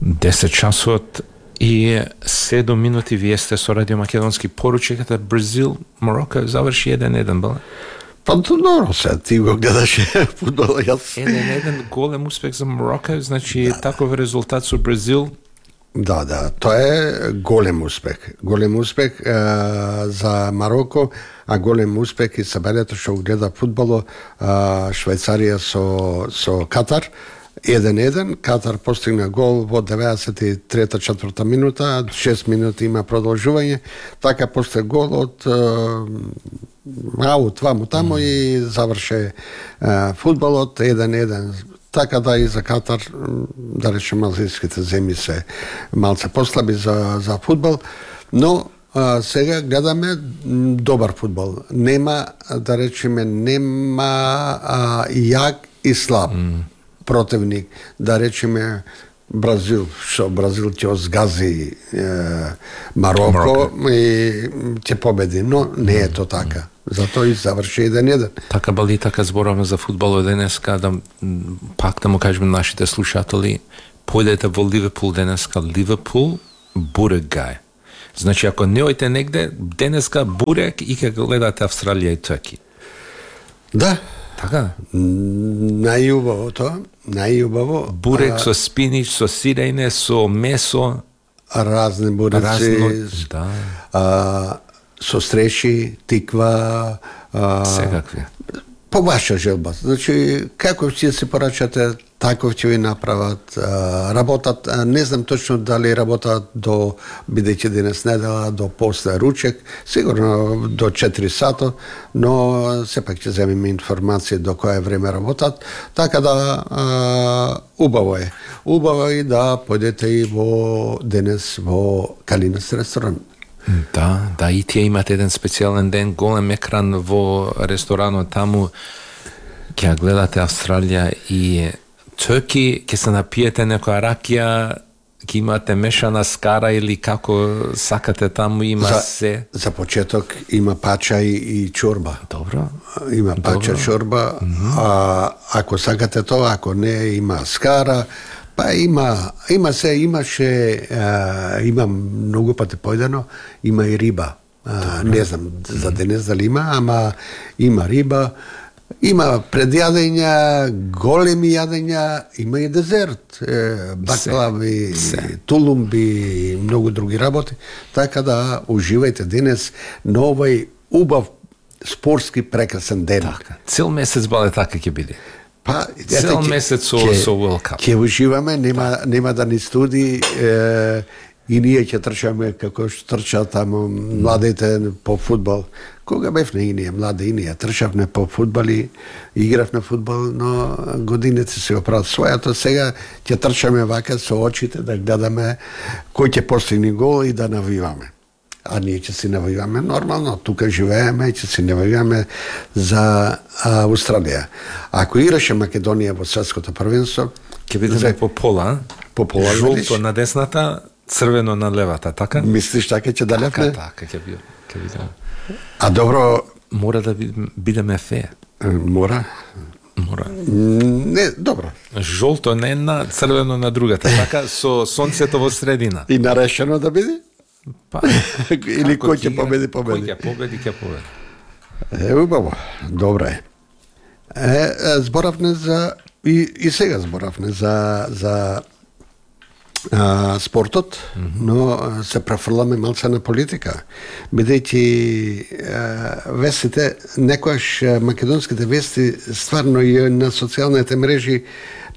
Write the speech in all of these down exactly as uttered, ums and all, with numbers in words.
десет часот и седум минути вие сте со Радио Македонски. Поручиката Бразил, Мороко заврши еден еден, бала? Па добро се, ти го гледаше фудбал, јас. еден еден голем успех за Мороко, значи да, таков резултат со Бразил. Да, да, тоа е голем успех. Голем успех е, за Мароко, а голем успех и сабелето што го гледа фудбало е, Швајцарија со со Катар. еден еден, Катар постигна гол во деветдесет и трета четврта минута, шест минути има продолжување, така после гол од аут ваму таму mm. и заврше е, фудбалот еден еден. Така да и за Катар, да речем, азијските земји се малце послаби за, за фудбал, но а, сега гледаме добар фудбал. Нема, да речеме, нема а, јак и слаб mm. противник, да речеме Бразил, што Бразил ќе озгази е, Мароко, Мароко и ќе победи, но не е то така. Затоа и заврши еден еден. Така бали, така зборавме за фудбал денеска, да пак да му кажеме нашите слушатели, појдете во Ливерпул денеска, Ливерпул бурек гај. Значи ако не ојте негде, денеска бурек и ќе гледате Австралија и Турки. Да. Така? Најубаво тоа, најубаво. Бурек а, со спинич, со сирејне, со месо. Разни буреци. Разно, да. А, со стреши, тиква. А, Секакви. По ваша желба. Значи, како ќе се порачате, таков ќе ви направат. А, работат, а, не знам точно дали работат до, бидејќи денес недела, до после ручек, сигурно до четири сата, но сепак ќе земеме информација до кое време работат, така да а, убаво е. Убаво е да појдете и во денес во Калинас ресторан. Да, да, и тие имат еден специјален ден, голем екран во ресторанот таму, ќе гледате Австралија и Турки, ќе се напиете некоја ракија, ќе имате мешана скара или како сакате таму, има за, се. За почеток има пача и, и чорба. Добро. Има пача, Добро. чорба, mm-hmm. а ако сакате тоа, ако не, има скара, па има, има се, имаше, а, има многу пати појдено, има и риба. А, не знам за денес дали има, ама има риба, има предјадења, големи јадења, има и дезерт, е, баклави, тулумби и многу други работи. Така да уживајте денес на овој убав спортски прекрасен ден. Така. Цел месец бале така ќе биде. Па, цел месец со со World Cup. Ќе уживаме, нема нема да ни студи е, и ние ќе трчаме како што трчат таму младите по фудбал. Кога бевме и ние млади, и ние трчавме по фудбал и игравме фудбал, но годините се оправат својато. Сега ќе трчаме вака со очите да гледаме кој ќе постигне гол и да навиваме. А ние ќе си навиваме нормално, тука живееме и ќе си навиваме за а, Австралија. Ако играше Македонија во светското првенство, ќе бидеме за... по пола, по пола, жолто на десната, црвено на левата, така? Мислиш така ќе далепне? Така, така ќе биде, ќе биде. А добро, мора да бидеме фе. Мора. Мора. Не, добро. Жолто на една, црвено на другата, така со сонцето во средина. И нарешено да биде? Па, или кој ќе победи, победи. Кој ќе победи, ќе победи. Е, убаво, добро е. Е, зборавме за, и, и сега зборавме за, за а, спортот, mm-hmm. но се префрламе малце на политика. Бидејќи вестите, некојаш македонските вести, стварно и на социјалните мрежи,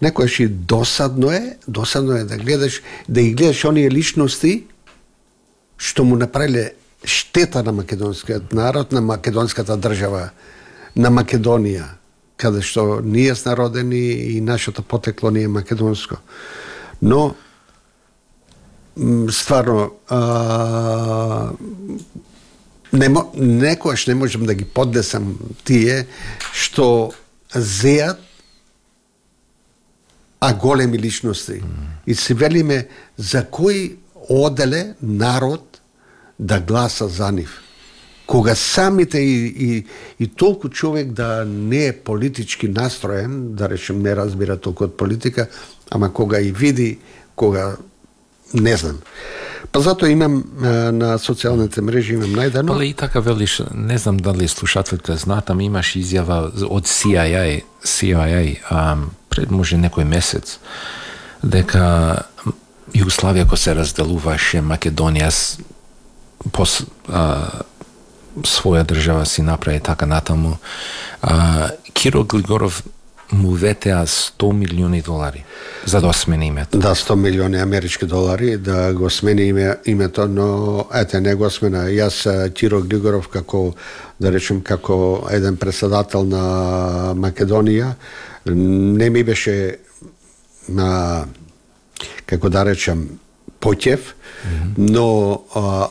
некојаш и досадно е, досадно е да гледаш, да ги гледаш оние личности, што му направиле штета на македонскиот народ, на македонската држава, на Македонија, каде што ние сме родени и нашето потекло не е македонско. Но, стварно, а, не, некојаш не можем да ги поднесам тие што зеат, а големи личности. И се велиме за кој оделе народ да гласа за нив. Кога самите и, и, и толку човек да не е политички настроен, да речем не разбира толку од политика, ама кога и види кога не знам. Па затоа имам на социјалните мрежи имам најдено. Па и така велиш, не знам дали слушателите знаат, ама имаш изјава од Си Ај Ај, Си Ај Ај, а, пред може некој месец, дека Југославија кога се разделуваше, Македонија пос, а, своја држава си направи така натаму. А, Киро Глигоров му ветеа сто милиони долари за да смени името. Да, сто милиони амерички долари да го смени име, името, но ете не го смена. Јас Киро Глигоров како да речем како еден председател на Македонија не ми беше на како да речем поќев, mm-hmm. но а,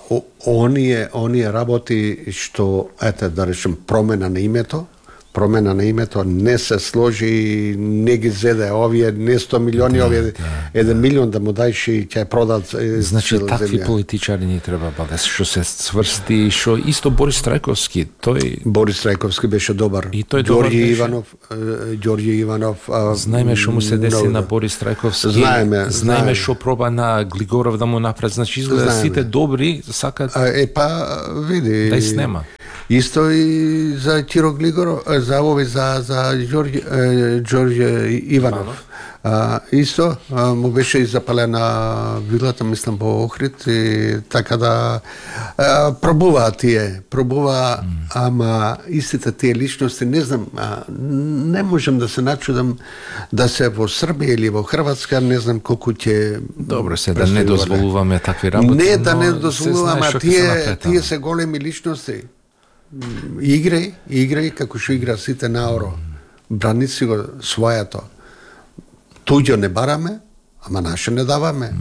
оние оние работи што ете да речем промена на името, промена на името не се сложи, не ги зеде овие не сто милиони, да, овие да, еден да. милион да му дајш и ќе продат. Значи такви политичари ни треба баде, што се сврсти, што исто Борис Трајковски, тој Борис Трајковски беше добар. И тој Ѓорѓи беше. Иванов, Ѓорѓи Иванов. Знаеме што му се деси на Борис Трајковски. Знаеме, знаеме што проба на Глигоров да му направи. Значи изгледа сите добри сакаат. Е па види. Да и снема. Исто и за Киро Глигоров, за овој за за Ѓорѓи Ѓорѓи Иванов. А, исто а, му беше и запалена вилата, мислам, по Охрид и така да а, пробува тие, пробува, mm. ама истите тие личности, не знам, а, не можем да се начудам да се во Србија или во Хрватска, не знам колку ќе. Добро се да не дозволуваме такви работи. Не да не дозволуваме, а тие тие се големи личности. Играј, играј како што игра сите наоро. Брани си го својато. Туѓо не бараме, ама наше не даваме.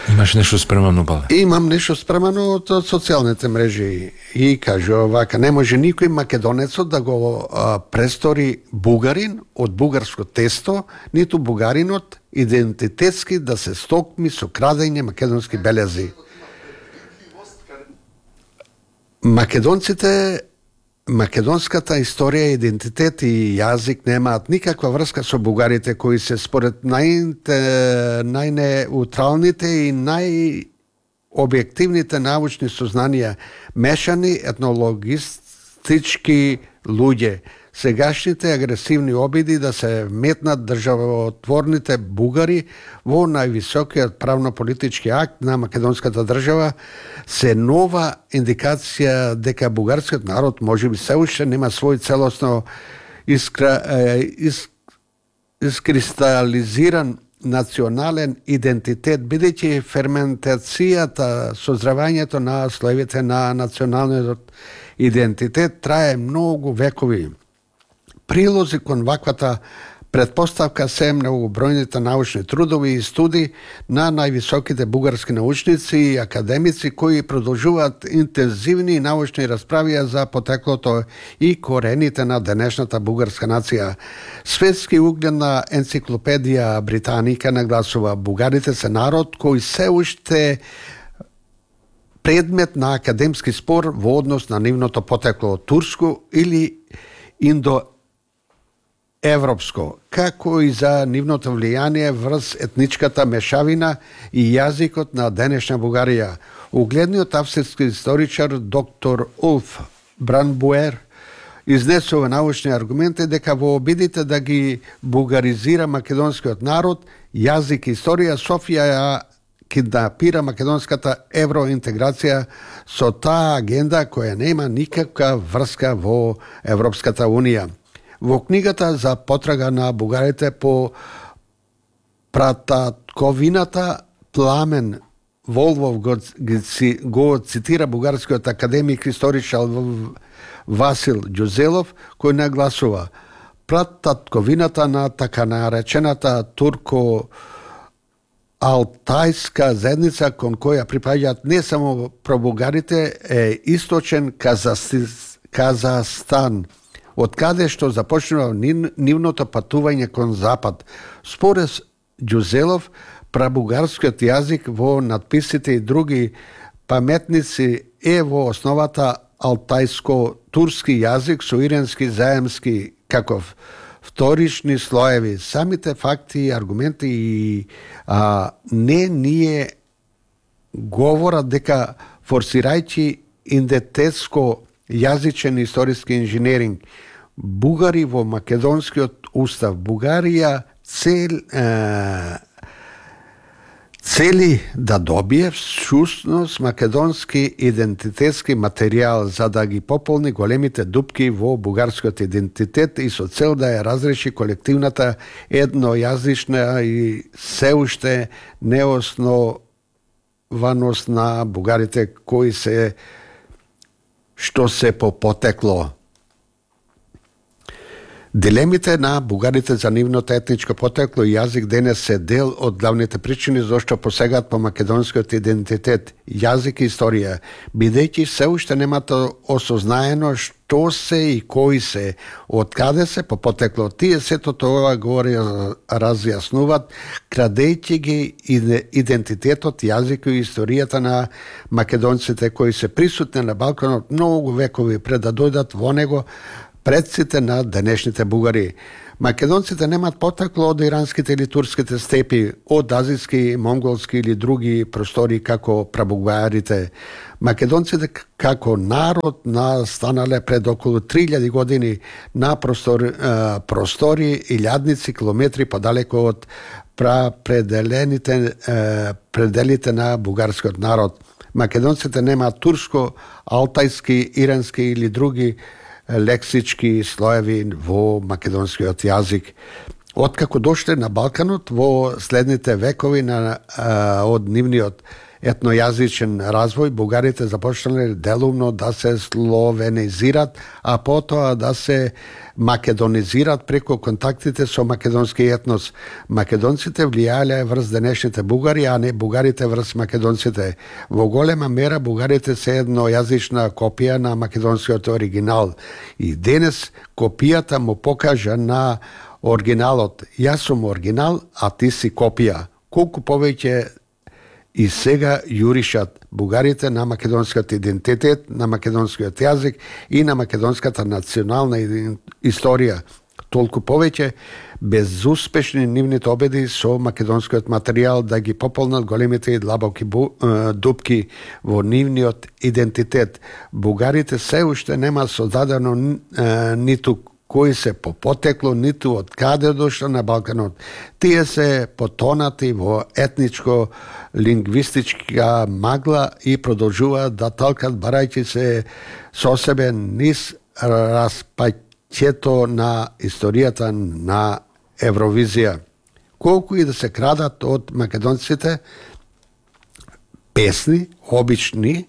Имаш нешто спремано, бале? Имам нешто спремано од социјалните мрежи. И кажу вака, не може никој македонецот да го а, престори бугарин од бугарско тесто, ниту бугаринот идентитетски да се стокми со крадење македонски белези. Македонците, македонската историја, идентитет и јазик немаат никаква врска со бугарите кои се според нај, најнеутралните и најобјективните научни сознанија мешани етнологистички луѓе. Сегашните агресивни обиди да се метнат државотворните бугари во највисокиот правно-политички акт на македонската држава се нова индикација дека бугарскиот народ можеби се уште нема свој целосно искра, ис, искристализиран национален идентитет, бидејќи ферментацијата, созревањето на слоевите на националниот идентитет трае многу векови. Прилози кон ваквата предпоставка се многобројните научни трудови и студии на највисоките бугарски научници и академици кои продолжуваат интензивни научни расправи за потеклото и корените на денешната бугарска нација. Светски угледна енциклопедија Британика нагласува бугарите се народ кој се уште предмет на академски спор во однос на нивното потекло турско или индо европско, како и за нивното влијание врз етничката мешавина и јазикот на денешна Бугарија. Угледниот австрийски историчар доктор Улф Бранбуер изнесува научни аргументи дека во обидите да ги бугаризира македонскиот народ, јазик и историја, Софија ја киднапира македонската евроинтеграција со таа агенда која нема никаква врска во Европската Унија. Во книгата за потрага на бугарите по прататковината Пламен Волвов го, го цитира бугарскиот академик историчар Васил Ѓузелов, кој нагласува прататковината на така наречената турко Алтајска заедница кон која припаѓаат не само пробугарите е источен Казахстан, од каде што започнува нивното патување кон запад. Според Ѓузелов, прабугарскиот јазик во надписите и други паметници е во основата алтајско-турски јазик со иренски заемски каков вторични слоеви, самите факти, аргументи и а, не ние говорат дека форсирајќи идентитетско јазичен историски инженеринг, бугари во македонскиот устав, Бугарија цел е, цели да добие всушност македонски идентитетски материјал за да ги пополни големите дупки во бугарскиот идентитет и со цел да ја разреши колективната еднојазична и се уште неоснованост на бугарите кои се што се по потекло. Дилемите на бугарите за нивното етничко потекло и јазик денес се дел од главните причини зашто посегаат по македонскиот идентитет, јазик и историја, бидејќи се уште немато осознаено што се и кои се, од каде се по потекло. Тие сето тоа го разјаснуваат, крадејќи ги идентитетот, јазик и историјата на македонците кои се присутни на Балканот многу векови пред да дојдат во него, предците на денешните бугари. Македонците немат потекло од иранските или турските степи, од азијски, монголски или други простори како прабугарите. Македонците како народ настанале пред околу три илјади години на простори, простори илјадници километри подалеку од пределените пределите на бугарскиот народ. Македонците немаат турско, алтајски, ирански или други лексички слоеви во македонскиот јазик. Откако дошле на Балканот во следните векови на, а, од нивниот етнојазичен развој, бугарите започнале делумно да се словенизират, а потоа да се македонизират преку контактите со македонски етнос. Македонците влијале врз денешните бугари, а не бугарите врз македонците. Во голема мера бугарите се еднојазична копија на македонскиот оригинал. И денес копијата му покажа на оригиналот. Јас сум оригинал, а ти си копија. Колку повеќе и сега јуришат бугарите на македонскиот идентитет, на македонскиот јазик и на македонската национална историја. Толку повеќе безуспешни нивните обиди со македонскиот материјал да ги пополнат големите и длабоки дупки во нивниот идентитет. Бугарите се уште нема создадено ниту кои се по потекло, ниту од каде дошло на Балканот. Тие се потонати во етничко лингвистичка магла и продолжуваат да талкат барајќи се со себе низ распаќето на историјата на Евровизија. Колку и да се крадат од македонците песни, обични,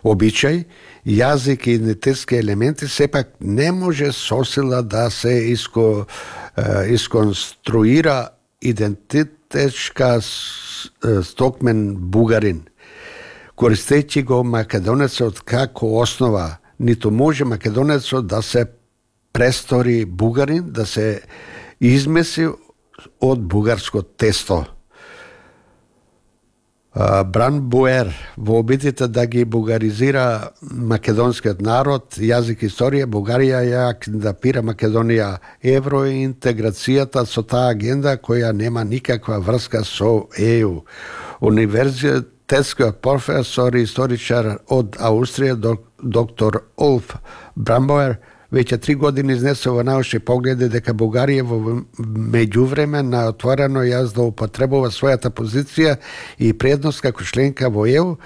обичај, јазик и идентитетски елементи, сепак не може со сила да се иско, исконструира идентитетска стокмен бугарин. Користејќи го македонецот како основа, ниту може македонецот да се престори бугарин, да се измеси од бугарско тесто. Бранбуер во обидите да ги бугаризира македонскиот народ, јазик и историја, Бугарија ја кандидатира Македонија евроинтеграцијата со таа агенда која нема никаква врска со Е Ю. Универзитетскиот професор и историчар од Аустрија, доктор Улф Бранбуер, веќе три години изнесе во научни погледи дека Бугарија во меѓувреме на отворено ја злоупотребува својата позиција и предност како членка во Е Ю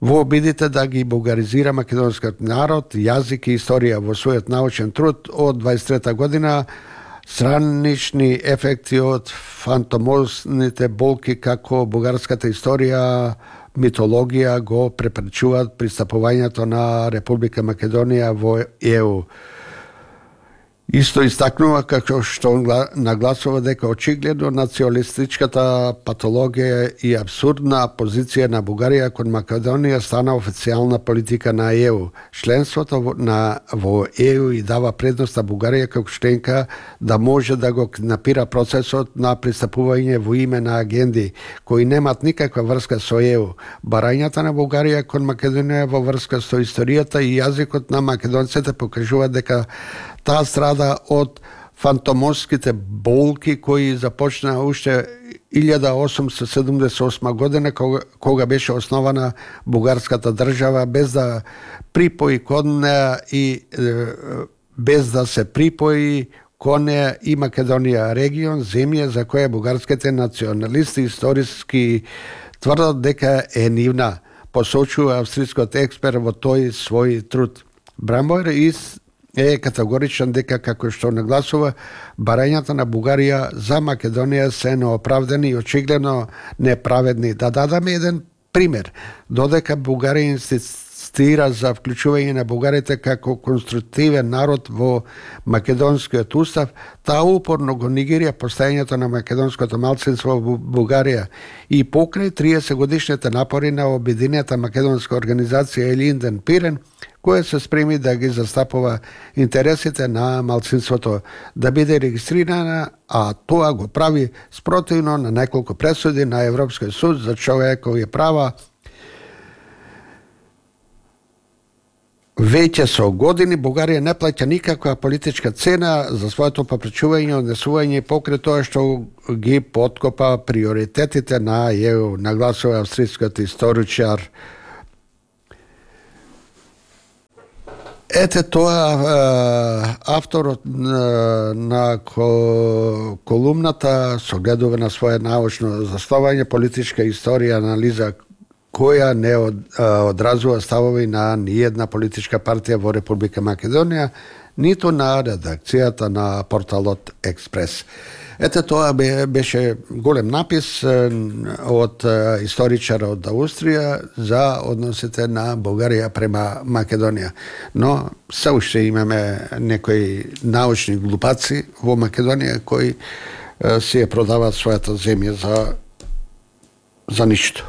во обидите да ги бугаризира македонскиот народ, јазик и историја. Во својот научен труд од дваесет и трета година странични ефекти од фантомозните болки како бугарската историја, митологија го препречуваат пристапувањето на Република Македонија во Е Ю. Исто истакнува како што нагласува дека очигледно националистичката патологија и абсурдна позиција на Бугарија кон Македонија стана официјална политика на Е Ю. Членството на во Е Ю и дава предност на Бугарија како членка да може да го напира процесот на пристапување во име на агенди кои немат никаква врска со Е Ю. Барањата на Бугарија кон Македонија во врска со историјата и јазикот на македонците покажува дека таа страда од фантомоските болки кои започнаа уште илјада осумстотини седумдесет и осма година кога, кога беше основана бугарската држава, без да припои кон неа и е, без да се припои кон неа и Македонија, регион, земја за која бугарските националисти историски тврдат дека е нивна, посочува австрискиот експерт во тој свој труд. Брамбоер е категоричен дека, како што нагласува, барањата на Бугарија за Македонија се неоправдани и очигледно неправедни. Да дадаме еден пример. Додека Бугарија инсистира за вклучување на бугарите како конструктивен народ во македонскиот устав, таа упорно го негира постојањето на македонското малцинство во Бугарија и покрај триесет годишните напори на обединета македонска организација Елинден Пирен, која се спреми да ги застапува интересите на малцинството да биде регистрирана, а тоа го прави спротивно на неколку пресуди на Европскиот суд за човекови права. Веќе со години Бугарија не плаќа никаква политичка цена за своето попречување, однесување покрај тоа што ги поткопа приоритетите на Е У, нагласува австрискиот историчар. Ете тоа авторот на колумната согледува на своје научно заставање политичка историја анализа која не одразува ставови на ниедна политичка партија во Република Македонија, ниту на редакцијата на порталот Експрес. Ете тоа беше голем напис од историчар од Австрија за односите на Бугарија према Македонија. Но се уште имаме некои научни глупаци во Македонија кои си ја продаваат својата земја за за ништо.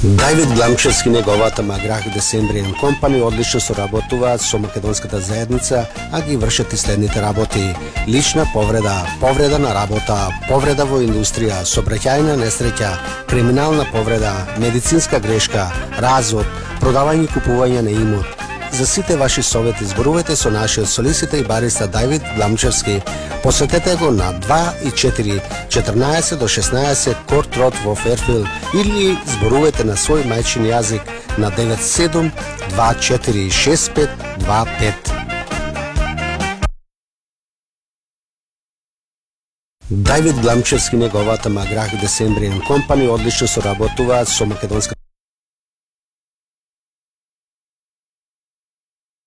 Давид Гламчевски, неговата Маграх Десембриен компани одлично соработуваат со македонската заедница, а ги вршат и следните работи: лична повреда, повреда на работа, повреда во индустрија, сообраќајна несреќа, криминална повреда, медицинска грешка, развод, продавање и купување на имот. За сите ваши совети зборувајте со нашиот солиситор и бариста Давид Гламчевски. Посетете го на два и четири, четрнаесет до шеснаесет Корт Род во Ферфилд или зборувајте на свој мајчин јазик на девет седум два четири шест пет два пет. Давид Гламчевски, неговата Маграх Десембриен компани одлично соработуваат со македонска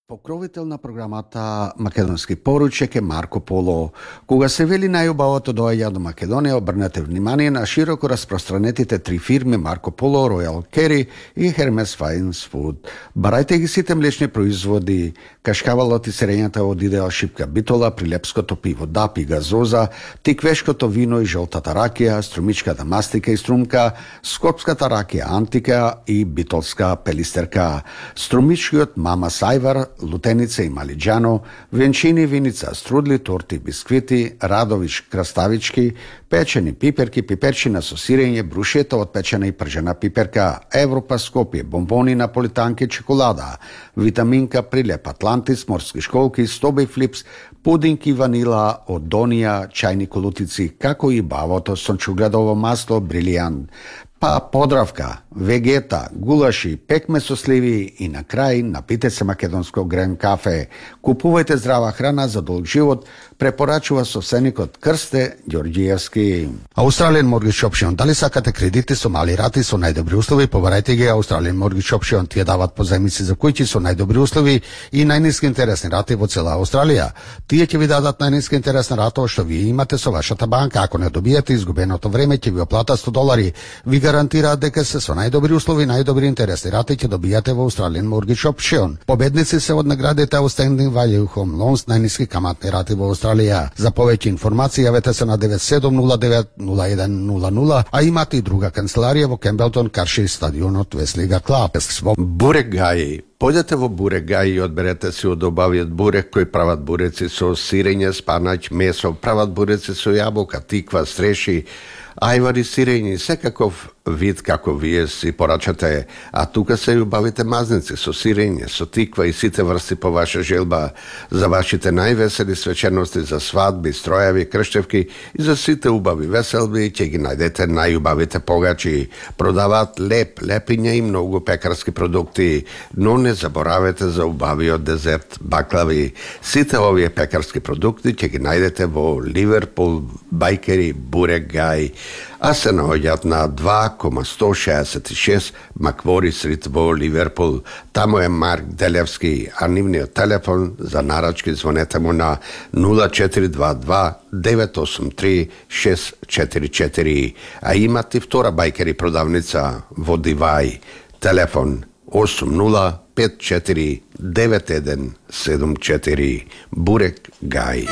Покровител на програмата Македонски поручек е Марко Поло. Кога се вели најубавото доаѓа до Македонија, обрнете внимание на широко распространетите три фирми Марко Поло, Ројал Кери и Хермес Фајнс Фуд. Барајте ги сите млечни производи, кашкавалот и сирењата од идеал шипка битола, прилепското пиво Дап и газоза, тиквешкото вино и жолтата ракија, струмичката мастика и струмка, скопската ракија Антика и битолска пелистерка, струмичкиот Мама Сајвар, лутеница и малиџано, венчини, виница, струдли, торти, бисквити, Радович, краставички, печени пиперки, пиперчина со сирење, брушета од печена и пржена пиперка, Европа Скопје, бомбони, наполитанки, чоколада, витаминка, прилеп Атлантис, морски школки, Стобе Флипс, пудинки ванила од Донија, чајни колутици, како и бавото сончугледово масло Брилијант, па подравка, вегета, гулаши, пекме со сливи и на крај напите се македонско грен кафе. Купувајте здрава храна за долг живот, препорачува собственикот Крсте Ѓорѓиевски. Australian Mortgage Option. Дали сакате кредити со мали рати со најдобри услови, побарајте ги Australian Mortgage Option. Тие дават позајмици за куќи со најдобри услови и најниски интересни рати во цела Австралија. Тие ќе ви дадат најниска интересна рата што вие имате со вашата банка. Ако не добиете изгубеното време, ќе ви оплата сто долари. Ви гарантираат дека се со најдобри услови, најдобри интересни рати ќе добијате во Australian Mortgage Option. Победници се од наградите Outstanding Value Home Loans, најниски каматни рати во Австралија. За повеќе информации јавете се на девет седум нула девет нула еден нула нула, а имате и друга канцеларија во Кембелтон, Карши стадионот Веслига Клаб. Бурек Гаји Појдете во Бурек Гај и одберете си од обавиот бурек кој прават буреци со сирење, спанаќ, месо, прават буреци со јаболка, тиква, стреши, ајвари, сирењи, секаков вид како вие си порачате, а тука се и убавите мазници со сирење, со тиква и сите врсти по ваша желба за вашите највесели свечености, за свадби, стројави, крштевки и за сите убави веселби, ќе ги најдете најубавите погачи. Продаваат леп, лепиња и многу пекарски продукти, но не заборавете за убавиот дезерт, баклави. Сите овие пекарски продукти ќе ги најдете во Ливерпул, Бајкери, Бурек Гај, а се наоѓаат на два кома сто шеесет и шест Маквори Стрит во Ливерпул. Таму е Марк Делевски, а нивниот телефон за нарачки звонете му на нула четири два два девет осум три шест четири четири, а имат и втора Бајкери продавница во Дивај. Телефон осум нула пет четири девет еден седум четири. Бурек Гај.